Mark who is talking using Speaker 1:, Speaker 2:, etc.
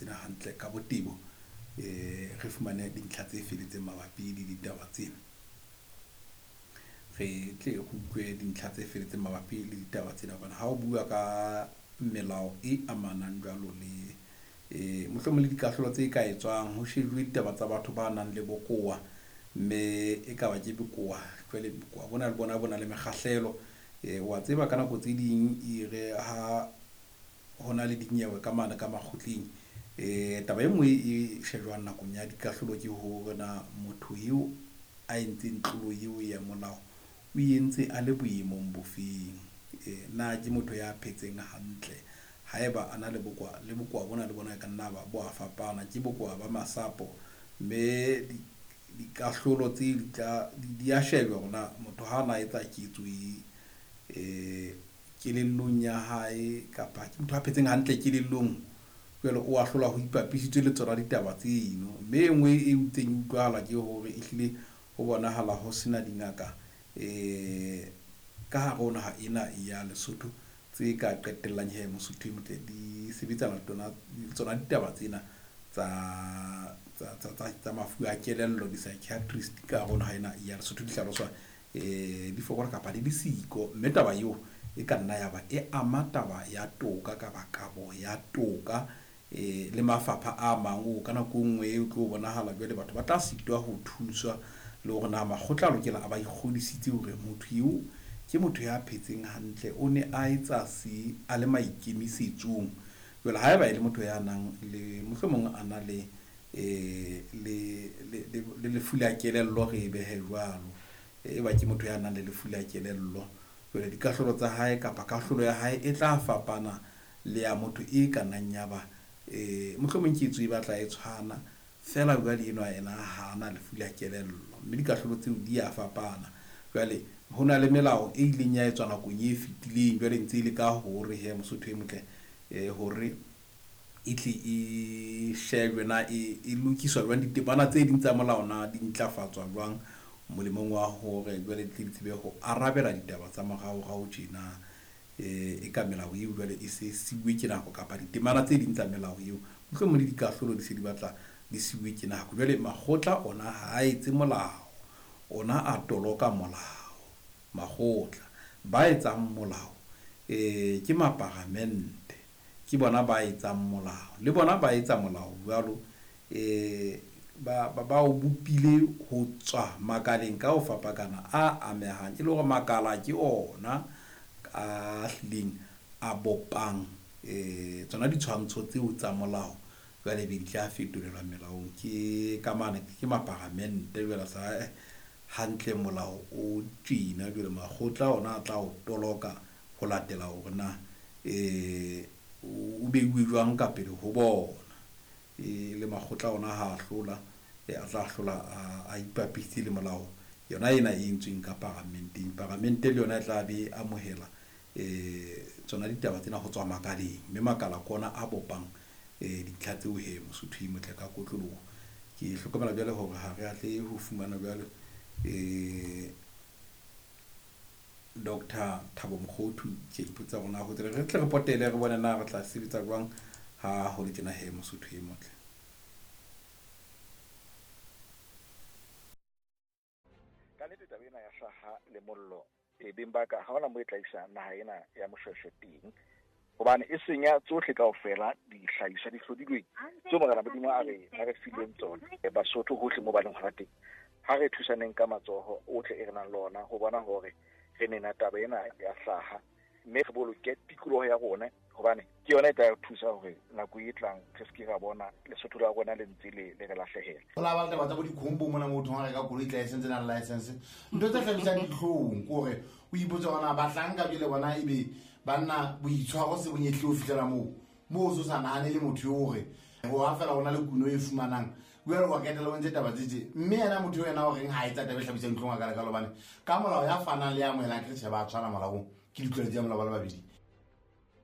Speaker 1: tsena hantle ka botebo, re fumane dintlha tse feletseng mabapi le ditaba tsena. Re tle re utlwe dintlha tse feletseng mabapi le ditaba tsena hobane ha o bua ka melao e amanang jwalo le mohlomong le dikahlolo tse ka etswang ho shejuwe ditaba tsa batho ba nang le bokowa, mme e ka ba ke bokowa. Jwale bokowa bona le bona bo na le mekgahlelo. Wa tseba ka nako tse ding e re ha ho na le dinyewe ka mane ka makgotleng, taba e nngwe e shejwang nakong ya dikahlolo ke hore na motho eo a entseng tlolo eo ya molao o entse a le boemong bofeng. Na ke motho ya phetseng hantle? Haeba a na le bokowa, le bokowa bona le bona e ka nna ba bo a fapana, ke bokowa ba masapo, mme dikahlolo tse di tla di a shejwa hore na motho ha na etsa ketso e kelellong ya hae kapa ke motho a phetseng hantle kelellong, jwale o ahlola ho ipapisitswe le tsona ditaba tseno. Mme e nngwe e ntseng e utlwahala ke hore ehlile ho bonahala ho sena dingaka ka hare ho naha ena ya Lesotho tse ka qetellang he Mosotho e motle di sebetsana le tsona ditaba tsena tsa mafu a kelello, di-psychiatrist ka hare ho naha ena ya Lesotho di hlaloswa di fokola kapa di le siko. Mme taba eo e ka nna ya ba e ama taba ya toka kapa kabo ya toka le mafapha a mang o ka nako e nngwe o tlo bonahala jwale batho ba tla sitwa ho thuswa le hore na makgotla a lokela a ba ikgodisitse hore motho eo ke motho ya phetseng hantle, o ne a etsa se a le maikemisetsong. Jwale haeba e le motho ya nang le mohlomong a na le le lefu la kelello, re e behe jwalo, e ba ke motho ya nang le lefu la kelello, jwale dikahlolo tsa hae kapa kahlolo ya hae e tla fapana le ya motho e ka nnang ya ba mohlomong ketso e batla e tshwana fela, jwale enwa ena ha na lefu la kelello, mme dikahlolo tseo di a fapana. Jwale ho na le melao e ileng ya etswa nakong e fetileng, jwale ntse e le ka hore he Mosotho e motle hore e tle e shejwe na e lokiswa jwang, ditemana tse ding tsa molao na di ntlafatswa jwang molemong wa hore jwale di tle di tsebe ho arabela ditaba tsa moraorao tjena. E ka melao eo jwale e se siuwe ke nako kapa ditemana tse ding tsa melao eo mohlomong le dikahlolo di se di batla di siuwe ke nako. Jwale makgotla ona ha a etse molao, ona a toloka molao. Makgotla ba etsang molao ke maparamente, ke bona ba etsang molao, le bona ba etsa molao jwalo ba o bopile ho tswa makaleng ka ho fapakana a amehang, e le hore makala ke ona a hlileng a bopang tsona ditshwantsho tseo tsa molao, jwale be di tla fetolelwa melaong ke ka mane ke maparamente. Jwale sa hantle molao o tjena, jwale makgotla ona a tla o toloka ho latela hore na o beuwe jwang ka pele ho bona. Le makgotla ona ha hlola a tla hlola a ipapisitse le molao yona ena e entsweng ka paramenteng. Paramente le yona e tla be amohela tsona ditaba tsena ho tswa makaleng, mme makala ke ona a bopang dintlha tseo he Mosotho e motle ka kotloloho. Ke hlokomela jwale hore ha re atle ho fumana jwale Dr. Thabo Mokhothu. Ke ipotsa hore na ho tsela re tle re potele re bone na re tla sebetsa jwang ha ho le tjena he Mosotho e motle.
Speaker 2: Ka nnete taba ena ya hlaha le mollo e beng ba ka ha hona mo e tla isa naha ena ya Moshweshwe teng, hobane e senya tsohle kaofela dihlahiswa di hlodilweng tseo Morena Modimo a re fileng tsona. Basotho hohle mo ba leng hona teng, ha re thusaneng ka matsoho ohle e re nang le ona ho bona hore re nena taba ena ya hlaha, mme re boloke tikoloho ya rona, hobane ke yona e tla re thusa hore nako e tlang re se ke ra bona Lesotho la rona le ntse le re lahlehela.
Speaker 3: Ho la ba le taba tsa bo dikhombo mona motho a reka koloi tla e sentse nang license, ntho tse hlabisang dihlong ke hore o ipotse hore na bahlanka jwale bona ebe banna boitshwaro se bonyehle ho fihlela moo o so sa nahane le motho eo hore ho ha fela ho na le kuno e fumanang jwale wa ketela o ntse taba tse tje, mme yena motho eo yena o reng ha etsa taba e hlabisang dihlong a kalekalo, hobane ka molao ya fanang le ya amohelang ke tjhe ba tshwana molaong, ke ditlwaelo tsa molao ba le babedi.